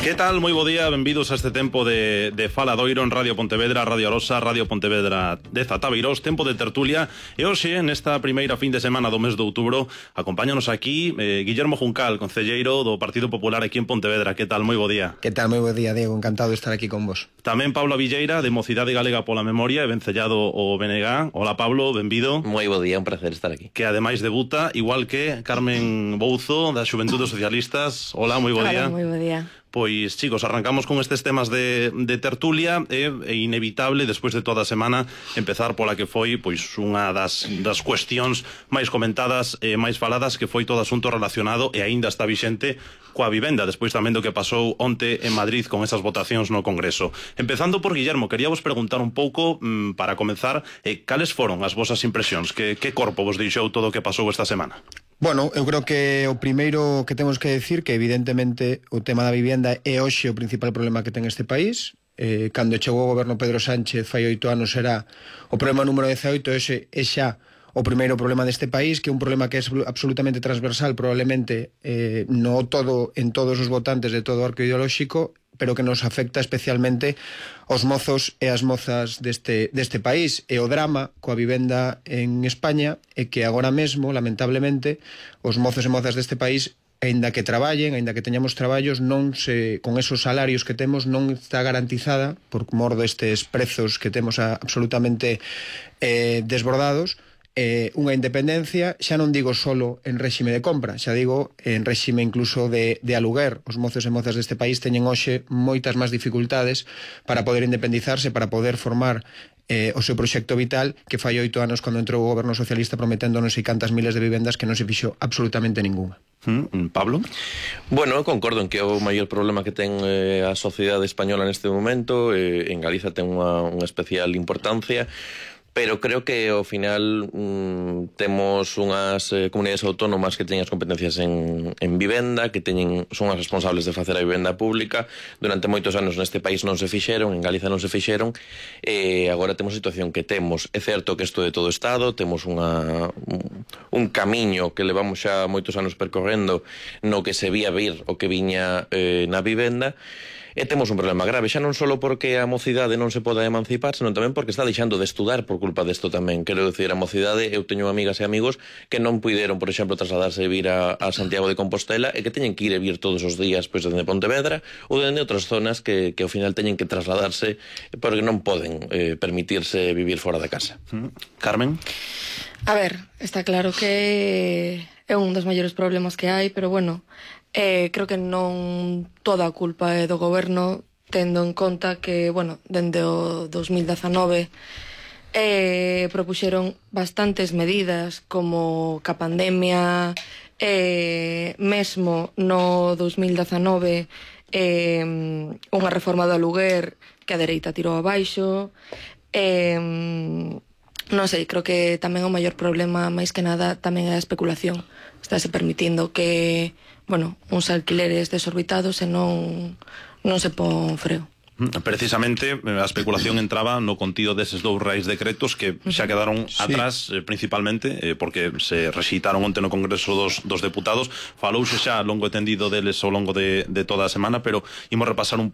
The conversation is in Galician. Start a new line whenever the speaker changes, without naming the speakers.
Que tal? Moi bo día, benvidos a este tempo de Faladoiro en Radio Pontevedra, Radio Arosa, Radio Pontevedra de Zatabeirós, tempo de tertulia. E hoxe, nesta primeira fin de semana do mes de outubro, acompáñanos aquí Guillermo Juncal, concelleiro do Partido Popular aquí en Pontevedra. Que tal? Moi bo día.
Que tal? Moi bo día, Diego, encantado de estar aquí con vos.
Tamén Pablo Villeira, de Mocidade Galega pola Memoria, e vencellado o BNG. Hola Pablo, benvido.
Moi bo día, un placer estar aquí.
Que ademais debuta, igual que Carmen Bouzo, da Xuventude Socialistas. Hola, moi bo día.
Hola, moi bo día.
Pois, chicos, arrancamos con estes temas de tertulia. É inevitable, despois de toda a semana, empezar pola que foi pois unha das cuestións máis comentadas e máis faladas, que foi todo asunto relacionado, e aínda está vixente, coa vivenda, despois tamén do que pasou onte en Madrid con esas votacións no Congreso. Empezando por Guillermo, quería vos preguntar un pouco, para comenzar, cales foron as vosas impresións? Que corpo vos deixou todo o que pasou esta semana?
Bueno, eu creo que o primeiro que temos que decir que evidentemente o tema da vivenda é hoxe o principal problema que ten este país. Cando chegou o goberno Pedro Sánchez fai 8 anos era o problema número 18, ese é xa o primeiro problema deste país, que é un problema que é absolutamente transversal, probablemente en todos os votantes de todo o arco ideolóxico, pero que nos afecta especialmente aos mozos e as mozas deste país. E o drama coa vivenda en España é que agora mesmo, lamentablemente, os mozos e mozas deste país, aínda que traballen, aínda que teñamos traballos, con esos salarios que temos, non está garantizada, por mor destes prezos que temos absolutamente desbordados, unha independencia, xa non digo solo en réxime de compra, xa digo en réxime incluso de aluguer. Os mozos e mozas deste país teñen hoxe moitas máis dificultades para poder independizarse, para poder formar o seu proxecto vital, que fai 8 anos cando entrou o goberno socialista prometéndonos e cantas miles de vivendas que non se fixo absolutamente ninguna.
Pablo?
Bueno, eu concordo en que é o maior problema que ten a sociedade española neste momento. En Galiza ten unha especial importancia, pero creo que ao final temos unhas comunidades autónomas que teñen as competencias en vivenda, que son as responsables de facer a vivenda pública. Durante moitos anos neste país non se fixeron, en Galiza non se fixeron, e agora temos a situación que temos. É certo que isto é de todo o Estado, temos un camiño que levamos xa moitos anos percorrendo no que se vía vir o que viña na vivenda. E temos un problema grave, xa non só porque a mocidade non se poda emancipar, senón tamén porque está deixando de estudar por culpa desto tamén. Quero dicir, a mocidade, eu teño amigas e amigos que non puideron, por exemplo, trasladarse e vir a Santiago de Compostela, e que teñen que ir e vir todos os días pois dende Pontevedra ou dende outras zonas que ao final teñen que trasladarse porque non poden permitirse vivir fora da casa.
Carmen?
A ver, está claro que é un dos maiores problemas que hai, pero bueno, creo que non toda a culpa é do goberno, tendo en conta que, bueno, dende o 2019 propuxeron bastantes medidas, como ca pandemia, mesmo no 2019 unha reforma do aluguer que a dereita tirou abaixo. Non sei, creo que tamén o maior problema, máis que nada, tamén é a especulación. Estáse permitindo que, bueno, uns alquileres desorbitados e non se pon freo.
Precisamente a especulación entraba no contido deses 2 reais decretos que xa quedaron atrás, principalmente porque se rexeitaron onte no Congreso dos Deputados. Falouse xa longo e tendido deles ao longo de toda a semana, pero imos repasar un